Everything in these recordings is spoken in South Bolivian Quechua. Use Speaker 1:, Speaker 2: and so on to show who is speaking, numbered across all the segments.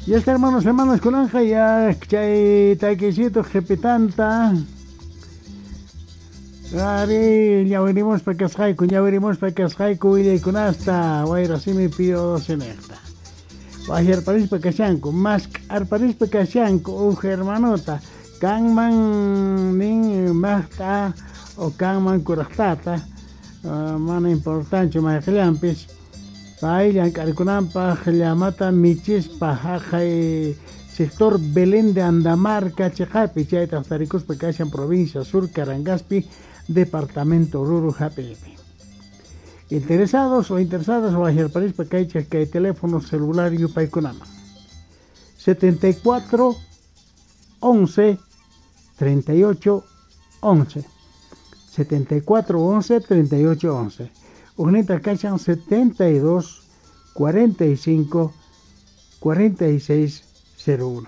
Speaker 1: Ya está, hermanos, hermanas, kunanqa ya chay taquisito qhipitanta. Ari, ñawirimuspa kasqayku, ñawirimuspa kasqayku willaykunasta, wayrasimi pío 12 nejta. Wajyarparispa kashanku, mask'arparispa kashanku uj hermanota, kanman nin maqt'a o kanman kuraqtata, mana importanchu mayqillanpis, pay llank'arikunanpaq llamata michispa haqay sector Belén de Andamarca chiqapi, chaytaq tarikuspa kashan provincia Sur Carangaspi, departamento Oruro hap'iypi. Interesados o interesadas wajyarparispa kaychik kay teléfono celular yupaykunaman: 74 11 38 11, 74 11 38 11. Ujninta kashan 72 45 46 01,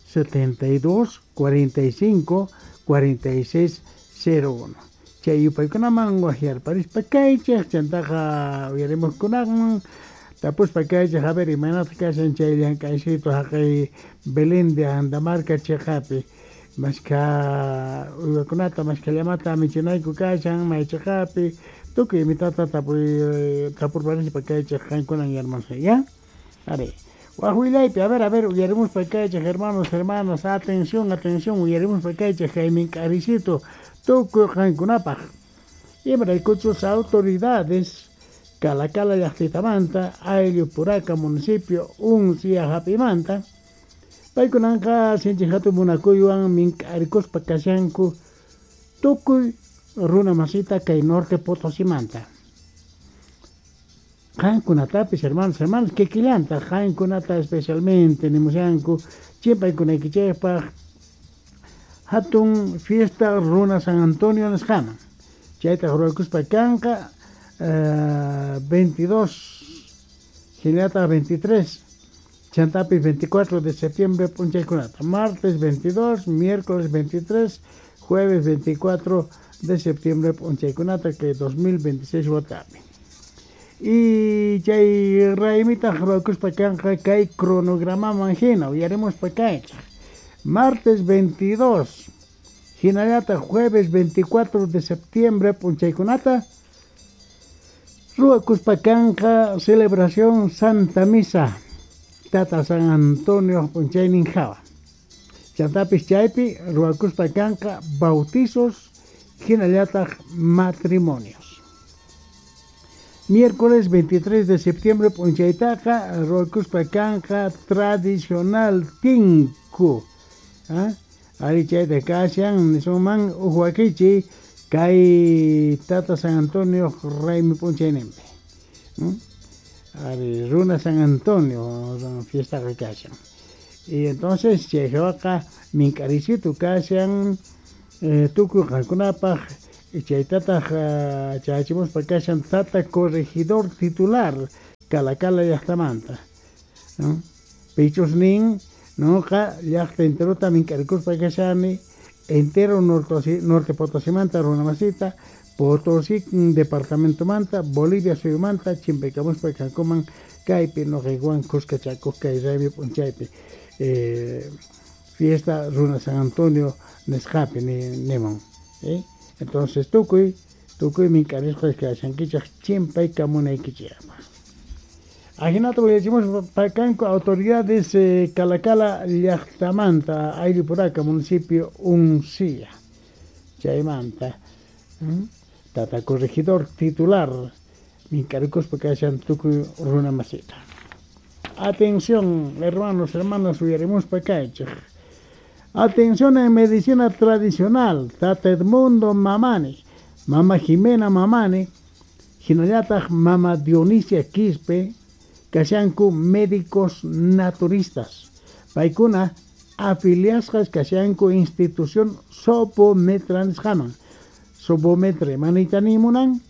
Speaker 1: 72 45 46 01. Chay yupaykunaman wajyarparispa kaychik, chantaqa uyarimuqkunaman tapuspa kaychik, a ver, imaynataq kashan chay llank'aysitu haqay Belén de Andamarca chiqapi, mashkha uywakunata, mashkha llamata michinayku kashan, may chiqapi, tukuy imitata tapuy tapurparispa kaychik qankunan, hermanos, ya. Ari, waj willaypi, a ver, a ver, uyarimuspa kaychik, hermanos, hermanas, atención, atención, uyarimuspa kaychik kay mink'arisito tukuy qankunapaq, imaraykuchus autoridades Calacala llaqtitamanta, ayllu Puraca, municipio Uncia hap'imanta, paykunanqa sinchi hatun munakuywan mink'arikuspa kashanku tukuy runa masita kay Norte Potosimanta. Qankunatapis, hermanos, hermanas, kikillanta qankunata especialmente nimushanku chimpaykunaykichikpaq hatun fiesta runa San Antonio nisqaman. Chaytaq ruwakuspa kanqa 22, hinallataq 23, chantapis 24 de septiembre p'unchaykunata. Martes 22, miércoles 23, jueves 24 de septiembre p'unchaykunata kay 2026 watapi. Y chay raymitaq ruwakuspa kanqa kay cronogramaman hina, uyarimuspa kaychik. Martes 22, hinallataq jueves 24 de septiembre p'unchaykunata ruwakuspa kanqa celebración Santa Misa Tata San Antonio p'unchaynin hawa. Chantapis chaypi ruwakuspa kanqa bautizos hinallataq matrimonios. Miércoles 23 de septiembre p'unchaytaqa ruwakuspa kanqa tradicional tinku. ¿Ah? Ari, chayta kashan nisunman uj wakichi kay Tata San Antonio raymi p'unchayninpi. Ari, runa San Antonio fiestaqa kashan. Y entonces chay hawaqa mink'arisitu kashan tukuy qankunapaq, chaytataq chayachimuspa kashan tata corregidor titular Calacala llaqtamanta. ¿No? Pichus nin noqa llaqta enterota mink'arikuspa kashani, entero Norte Potosimanta runa masita, Potosí departamentomanta, Bolivia suyumanta, chimpaykamuspa kankuman kaypi noqaykuwan kuskachakuq kay raymi p'unchaypi, fiesta runa San Antonio nisqapi nimun. ¿Eh? Entonces tukuy tukuy mink'arisqa kashankichik chimpaykamunaykichikpaq. Ajinata willachimuspa kanku autoridades Calacala llaqtamanta, ayllu Puraca, municipio Uncía. Chaymanta tata corregidor titular mink'arikuspa kashan tukuy runa masita. Atención, hermanos, hermanas, uyarimuspa kaychik. Atención en medicina tradicional, tata Edmundo Mamani, mama Jimena Mamani, hinallataq mama Dionisia Quispe, kashanku médicos naturistas. Paykuna afiliasqas kashanku institución Sopometra nisqaman. Sopometra, manita nimunan,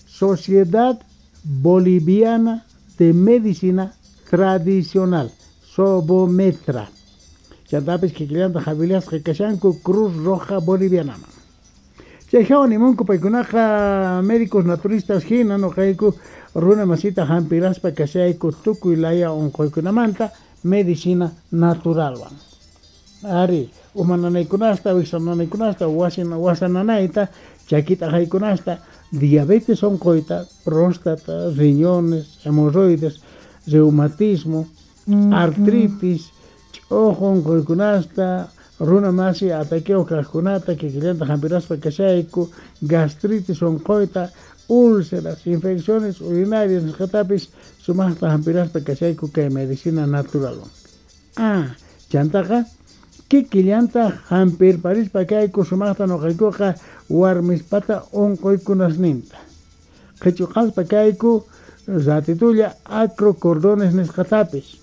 Speaker 1: Sociedad Boliviana de Medicina Tradicional, Sobometra. Chantapis kikillantaq afiliasqa kashanku Cruz Roja Bolivianaman. Chay hawa nimunku paykunaqa médicos naturistas hina noqayku runa masita hampiraspa kashayku tukuy laya unquykunamanta. Medicina naturalwan. Ari, uma nanaykunasta, wiksa nanaykunasta, wasa nanayta, chaki t'aqaykunasta, diabetes onqoyta, próstata, riñones, hemorroides, reumatismo, artritis, ch'ojo onqoykunasta, runa masi ataqueo kajkunata, kikillanta hampiraspa kashayku, gastritis onqoyta, úlceras, infecciones urinarias nisqatapis sumaqta hampiraspa kashayku kay medicina naturalwan. Ah, chantaqa kikillanta hampirparispa kayku sumaqta noqaykuqa warmispata onqoykunasninta. Qhichuqaspa kayku ratitulla acrocordones nisqatapis.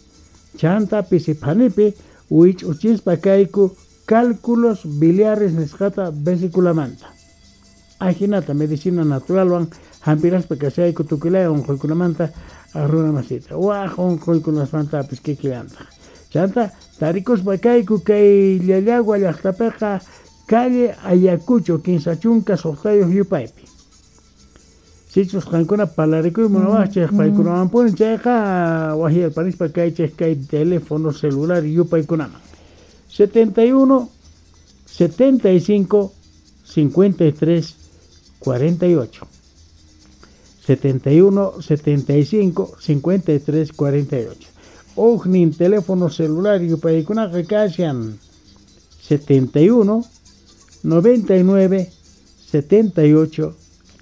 Speaker 1: Chanta pisiphanipi wich'uchispa kayku cálculos biliares nisqata vesiculamanta. Ajinata medicina naturalwan hampiraspa kashayku tukuylaya onqoykunamanta runa masita. Waj onqoykunasmantapis kikillantaq. Chanta tarikuspa kayku kay Llallagua llaqtapiqa calle Ayacucho 36 yupaypi. Sichus qankuna parlarikuy munawaqchej paykunawanpuni chayqa wajyarparispa kaychej kay teléfono celular yupaykunaman. 71 75 53 48. 71 75 53 48. Ujnin teléfono celular yupaykunaqa kashan 71 99 78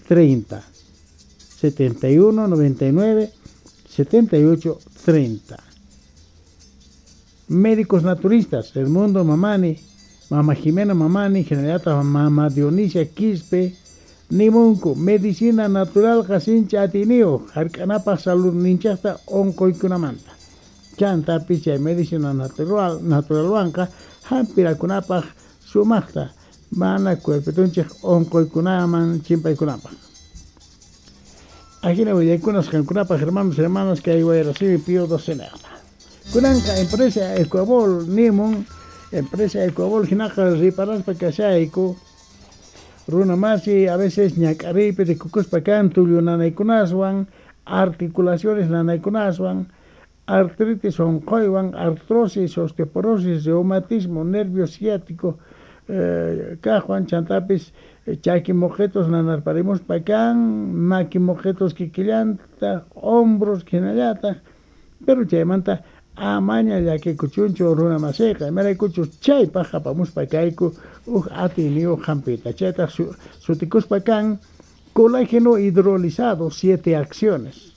Speaker 1: 30. 71 99 78 30. Médicos naturistas, Edmundo Mamani, Mama Jimena Mamani, Generata Mama Dionisia Quispe, Nimunku, medicina natural sincha atinio, hark'anapaj salud ninchaqta onqoykunamanta. Chantapis chay medicina natural naturalwanqa hampirakunapaj sumaqta mana cuerpitunchik onqoykunaman chimpaykunapaj. Ajina willaykunas qankunapaj hermanos hermanas kay wayrasimi Pío docenaqta. Kunanqa empresa Ecuabol nimun, empresa Ecuabol hinaqa riparaspa kashayku runa masi a veces ñak'ariypi rikukuspa kan tullu nanaykunaswan, articulaciones nanaykunaswan, artritis onqoywan, artrosis, osteoporosis, reumatismo, nervio ciático, kajwan chantapis chaki moqetos nanarparimuspa kan, maki moqetos kikillanta, hombros hinallataq, pero chaymanta amaña llakikuchunchu runa masiqa, imaraykuchus chaypaq apamuspa kayku uj atiyniyuq hampita, chaytaq sutikuspa kan colágeno hidrolizado 7 acciones.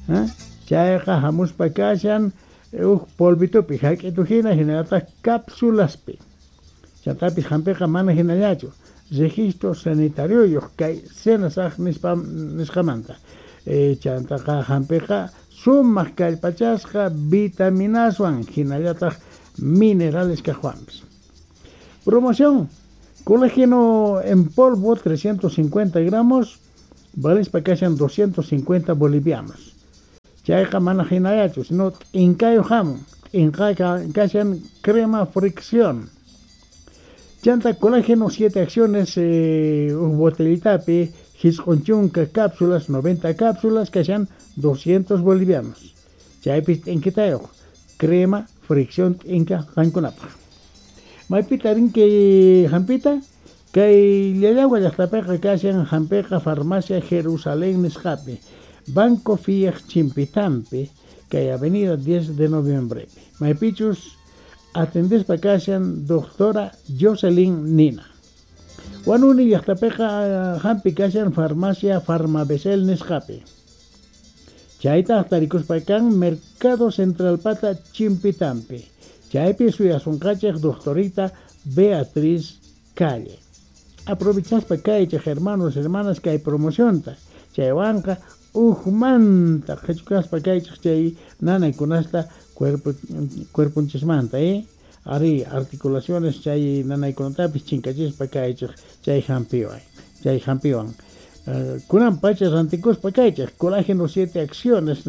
Speaker 1: ¿Eh? Chayqa hamuspa kashan uj polvitupi hak'itu hina hinallataq cápsulaspi. Chantapis hampiqa mana hinallachu registro sanitario kay SENASAG nisqamanta. Chantaqa hampiqa sumaq kallpachasqa vitaminaswan hinallataq minerales kaqwanpis. Promoción: colágeno en polvo 350 gramos, valispa kashan 250 bolivianos. Chayqa mana hinallachu, sino t'inkayuq hamun, t'inqaqa kashan crema fricción. Chanta colágeno 7 acciones, uj botellitapi, hisq'un cápsulas, 90 cápsulas, kashan 200 bolivianos. Chaypis t'inkitayuq, crema fricción t'inka qankunapaq. Maypita rinki hampita, kay Llallagua llaqtapiqa kashan hampiqa farmacia Jerusalén nisqapi, Banco Fiat Chimpitampi, kay avenida 10 de noviembre. Maypichus atendespa kashan doctora Jocelyn Nina. Wanuni llaqtapiqa hampi kashan farmacia Farmabesel nisqapi. Chaytaq tarikuspa kan Mercado Central pata Chimpitampi. Chaypi suyasunqachej doctorita Beatriz Calle. Aprovechaspa kaychej hermanos hermanas kay promocionta. Chaywanqa ujmanta qhichukaspa kaychej chay nanaykunasta cuerponchismanta, Ari articulaciones chay nanaykunatapis chinkachispa kaychej chay hampiwan, chay hampiwan. Kunan pacha rantikuspa kaychej colágeno 7 acciones.